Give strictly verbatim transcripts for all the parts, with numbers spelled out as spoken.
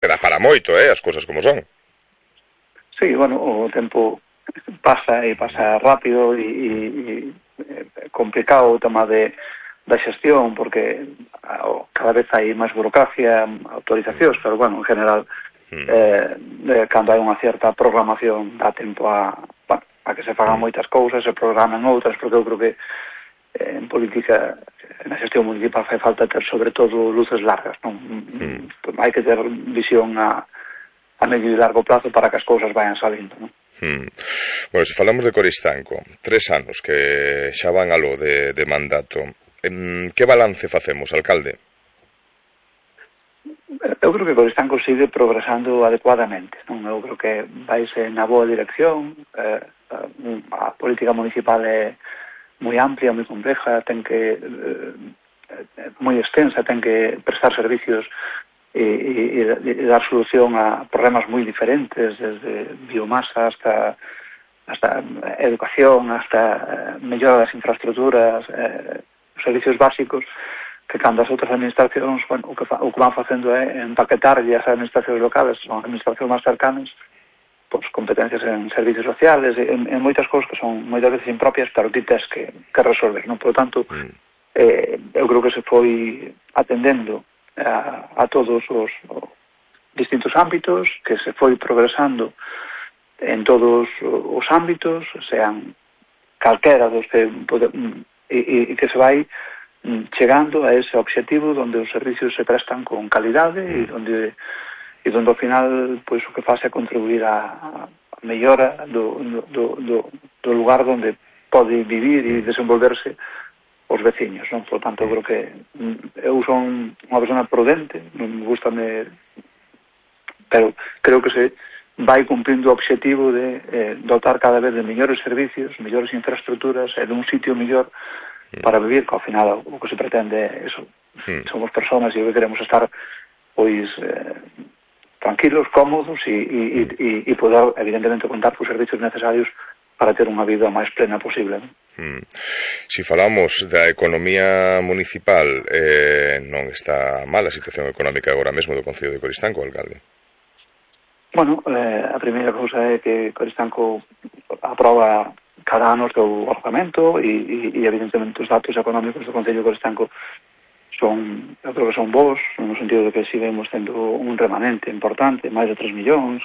Queda para moito, eh, as cousas como son. Sí, bueno, o tempo pasa e pasa rápido e, e, e complicado o tema de da xestión, porque cada vez hai máis burocracia, autorizacións, pero bueno, en general mm. eh, cando hai unha certa programación dá tempo a, bueno, a que se fagan mm. moitas cousas, se programen outras, porque eu creo que eh, en política, na xestión municipal fai falta ter sobre todo luces largas, non? Mm. Hai que ter visión a a medio e largo plazo para que as cousas vayan salindo, non? Hmm. Bueno, se falamos de Coristanco, tres anos que xa van aló de, de mandato, em, que balance facemos, alcalde? Eu creo que Coristanco sigue progresando adecuadamente, non? Eu creo que vaise na boa dirección, eh, a política municipal é moi amplia, moi compleja, ten que eh, moi extensa, ten que prestar servicios E, e, e dar solución a problemas moi diferentes, desde biomasa hasta hasta educación, hasta mellora das infraestructuras, eh, servicios básicos, que cando as outras administracións, bueno, o que, fa, o que van facendo é empaquetarlle as administracións locales, son administracións máis cercanas, pois competencias en servicios sociales, en, en moitas cousas que son moitas veces impropias, pero ti tes que, que resolver, non? Por lo tanto, eh, eu creo que se foi atendendo A, a todos os, os distintos ámbitos, que se foi progresando en todos os ámbitos, sean calquera dos que pode, e, e que se vai chegando a ese objetivo onde os servicios se prestan con calidade e onde e onde ao final pois o que faz é contribuir a, a mellora do, do, do, do lugar onde pode vivir e desenvolverse os veciños, non? Por tanto, eu creo que eu son unha persona prudente, non me gusta me... pero creo que se vai cumprindo o objetivo de eh, dotar cada vez de mellores servicios, mellores infraestructuras e dun sitio mellor para vivir, que ao final o que se pretende é eso. Sí. Somos personas e o que queremos estar pois eh, tranquilos, cómodos e, e, e, e poder, evidentemente, contar cos servicios necesarios para ter unha vida máis plena posible. Hmm. Si falamos da economía municipal, eh, non está mal a situación económica agora mesmo do Concello de Coristanco, alcalde? Bueno, eh, a primeira cousa é que Coristanco aproba cada ano o seu orzamento e, e, e evidentemente os datos económicos do Concello de Coristanco son, eu creo que son bons, no sentido de que seguimos tendo un remanente importante, máis de tres millóns,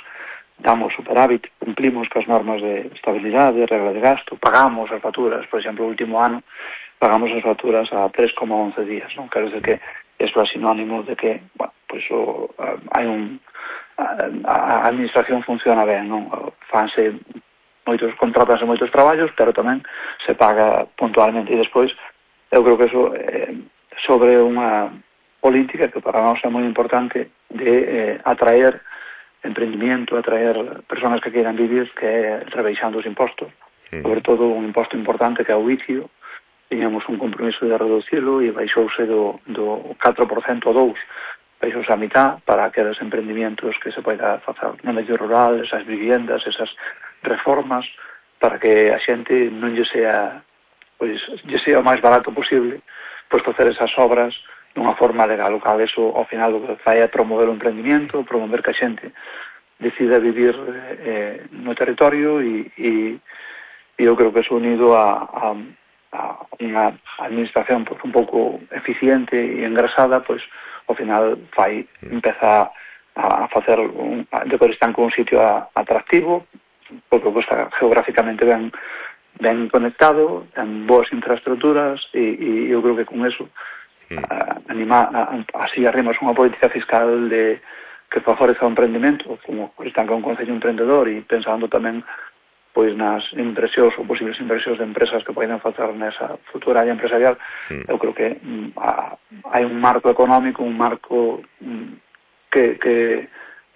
damos superávit, cumplimos coas normas de estabilidade, regla de gasto, pagamos as facturas, por exemplo, o último ano pagamos as facturas a tres coma once días, non? Quero dizer que eso é sinónimo de que, bueno, pois o, uh, hai un a, a administración funciona ben, non? Fanse moitos, contratanse moitos traballos, pero tamén se paga puntualmente e despois eu creo que eso eh, sobre unha política que para nós é moi importante de eh, atraer emprendimiento, atraer personas que queiran vivir, que é rebaixando os impostos, sí. Sobre todo un imposto importante que é o vicio. Tiñamos un compromiso de reducirlo e baixouse do, do catro por cento ao dous por cento, baixouse a mitad para aqueles emprendimientos que se poida facer no medio rural, esas viviendas, esas reformas, para que a xente non lle sea, pois, lle sea o máis barato posible, pois facer esas obras dunha forma legal, o cal eso ao final o que fai é promover o emprendimiento, promover que a xente decida vivir eh, no territorio e, e, e eu creo que eso unido a, a, a unha administración pues, un pouco eficiente e engrasada, pois ao final fai, empeza a, a facer un, a, de Coristanco un sitio a, atractivo, porque está geográficamente ben, ben conectado, ten boas infraestructuras e, e eu creo que con eso Uh, anima, uh, así arrimas unha política fiscal de que favoreza o emprendimento, como están con un concello emprendedor e pensando tamén pois nas inversións ou posibles inversións de empresas que poden facer nesa futura área empresarial. mm. Eu creo que mm, a, hai un marco económico, un marco mm, que, que,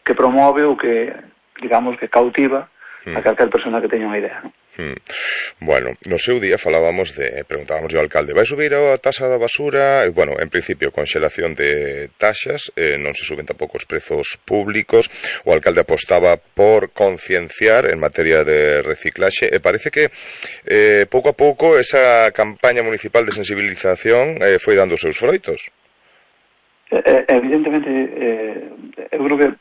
que promove ou que, digamos, que cautiva mm. a calquer persona que teña unha idea, non? Hmm. Bueno, no seu día falábamos de, preguntábamos ao alcalde, vai subir a taxa da basura? E, bueno, en principio, conxelación de taxas, eh, non se suben tampouco os prezos públicos, o alcalde apostaba por concienciar en materia de reciclaxe, e parece que eh, pouco a pouco esa campaña municipal de sensibilización eh, foi dando os seus froitos. Eh, evidentemente, eh, eu creo que